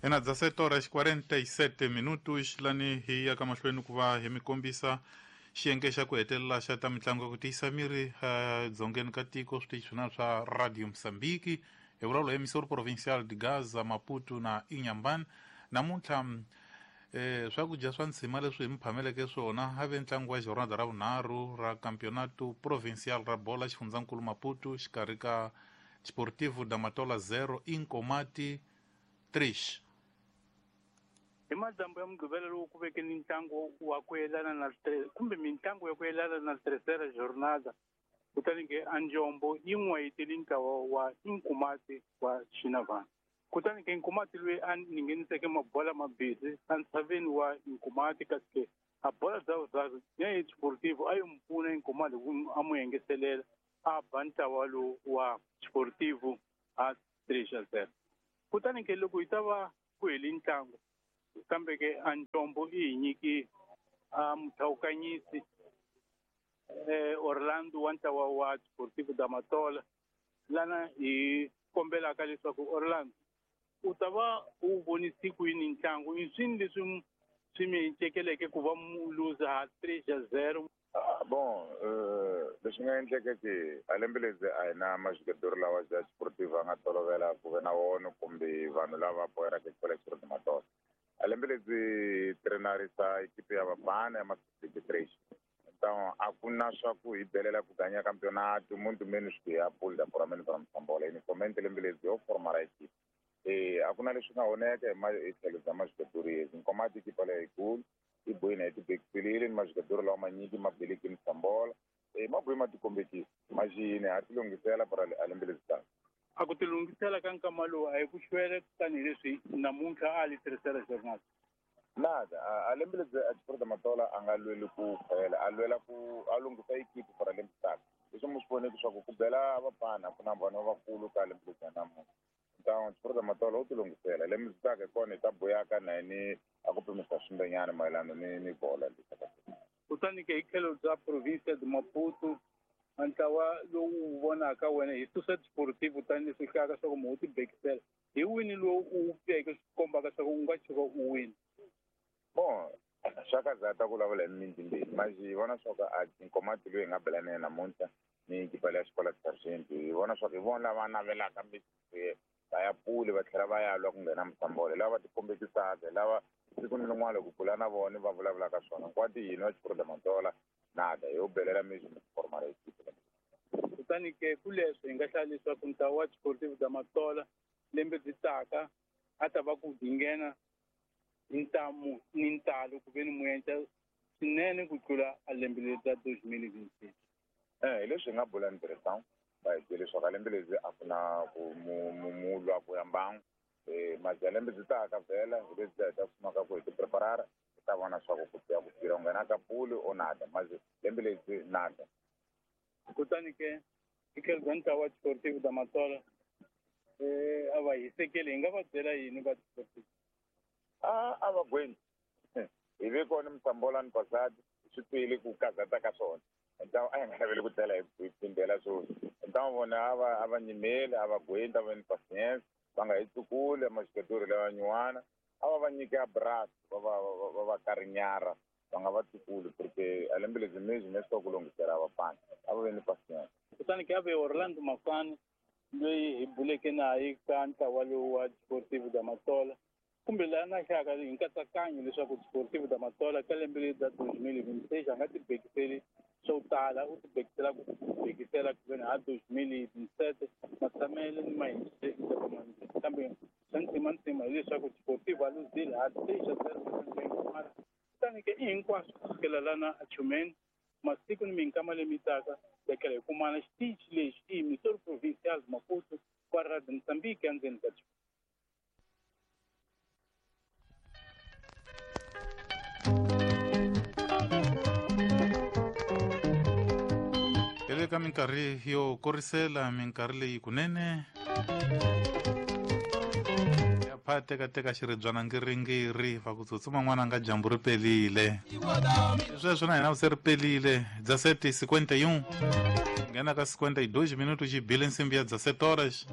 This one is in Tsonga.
Ena 17 horas 47 minutos lani hi ya ka mahlweni ku va hi mi kombisa xiyenge xa ku hetelela xa ta mitlangu ya ku tiyisa miri edzongeni ka tiko switichi swin'wana swa Radio Mozambique hi vulavula hi Missouri Provincial de Gaza Maputo na Inhambane namuntlha swakudya swa ntshima leswi hi mi phameleke swona a ve ntlangu wa jornada ra vunharhu ra Campeonato Provincial ra bola xifundzankulu Maputo xikarhi ka Desportivo da Matola 0 Inkomati 3. Hi madyambu ya Mugqivela lowu ku veke ni ntlangu wa ku yelana na kumbe mintlangu ya ku yelana na Terceira Jornada, kutani ke a Njombo yi n'wayitele ntlawa wa Inkomati wa Xinavana. Kutani ke Nkomati loyi a ningeniseke mabola mambirhi entshaveni wa Nkomati kasi ke a bola bya vuraru ya Desportivo a yi n'wi pfuna Nkomati ku a n'wi engetelela a ba ntlawa lowu wa Desportivo a 3-0. Kutani ke loko yi ta va ku hele ntlangu kambe ke a Njombo i hi nyiki a muthawukanyisi Orlando wa ntlawa wa Desportivo da Matola lana hi kombelaka leswaku Orlando u ta va u vonise ku yini ntlangu i swini leswi swi mi cekeleke ku va mu luza ha 3-0. Bon, leswi nga endleka ke a lembe lebyi a hi na majugadori lawa ya Desportivo a nga tolovela ku ve na wona kumbe vanhu lava boheraka xikolo xa Matola. A lembe lebyi trenarisa ekipe ya vafana ya ma-23. Então a ku na swa ku hi belela ku ganya campeonato muito menos ku ya pula puramente para Msambola. Inicialmente lembe lebyi yo formar a equipe. A ku na leswi nga oneka hi tlhelo bya majugadori yezi. Nkomati ekipa leyikulu i bohini hi tibekiselile ni majugadori lawa manyiki ma beleki Msambola. Ma bohi ma tikombekisa. Maxini ha ti lunghisela para a lembe lebyi taka. A ku tilunghisela ka nkama lowu a hi ku xwele tanihileswi namuntlha a li tirhisela jornal. Nada, a lembe lebyi a Desportivo Matola a nga lweli ku khwela, a lwela ku a lunghisa ekipi para lembe taka. Leswi mi swi voneke swa ku bela vafana ku na vanhu lavakulu ka lembe lebyi namuntlha. Então Desportivo Matola u tilunghisela lembe lebyi taka hi kona hi ta buyaka na yini a ku pimisa swimbenyana mayelana ni bola leyi. Kutani ke hi tlhelo bya province de Maputo ntlawa lowu vonaka wena hi susa Desportivo tanihileswi hlayaka swa ku mu tibekisela hi wini lowu u veke swi kombaka swa ku u nga tshuka u wini. Bon, swa ka za ta ku vulavula hi mimiti mbirhi mas hi vona swa ku a Nkomati loyi hi nga bela na yena namuntlha ni ekipa leya xikola Sargent hi vona swa ku hi vona lava navelaka va ya puli va tlhela va ya lwa ku nghena Msambola lava va tikombekisaka lava siku ni rin'wana loko bula na vona va vulavulaka swona nkwati yini wa Desportivo Matola nada yo belela mesmo formar equipe. Kutani ke kuleswo hi nga hlaya leswaku ntlawa wa Desportivo da Matola lembe byi taka a ta va ku nghena ntamu ni ntalo ku ve ni muenca swinene ku tlula a lembe leri ra 2026. Hi leswi hi nga bula ni tirhisang va hi byele leswaku a lembe lebyi a ku na ku mu lwa ku ya mbangu. Mazi ya lembe byi taka vhela hi lebyi hi ta sumaka ku hi ti preparara hi ta vona swa ku ku ya ku tirha u nghena ka puli o nada mazi lembe lebyi nada. Kutani ke hi tlhelo bya ntlawa wa Desportivo da Matola a va hisekeli hi nga va byela yini va Desportivo? A va gweni hi ve kona Msambola ni Pasadi swi twile ku kazata ka swona. Então a hi nga naveli ku tlela hi phindela sweswi. Então vona a va nyimeli a va gweni ta va ni patience va nga hi tsukuli majugadori lawa nyuwana a va va nyike abraço va va karinyara va nga va tsukuli porque a lembe lebyi mesmo me swi ku lunghisela vafana a va ve ni patience. Kutani ke a ve Orlando Mafani loyi hi buleke naye ka ntlawa lowu wa Desportivo da Matola kumbe laha na hlayaka hi nkatsakanyo leswaku Desportivo da Matola ka lembe leri ra 2026 a nga tibekiseli swo tala u tibekisela ku bekisela ku veni ha 2027 matshamele ni mahindzele kambe swa ntima ntima hileswaku Desportivo a luzile ha 3-0 kutani ke i hinkwaswo kusukela lana a Chumeni masiku ni minkama leyi taka tekela hi kumana xitichi lexi i Missouri Provincial Maputo kwa Radio Mozambique endzeni ka hi le ka minkarhi yo korisela minkarhi leyi kunene ya pha tekateka xiribyana ngiringiri va ku tsutsuma n'wana nga dyambu ri pelile sweswo na hina se ri pelile 17:51 nghena ka 52 minutos xi bile nsimbi ya 17 horas.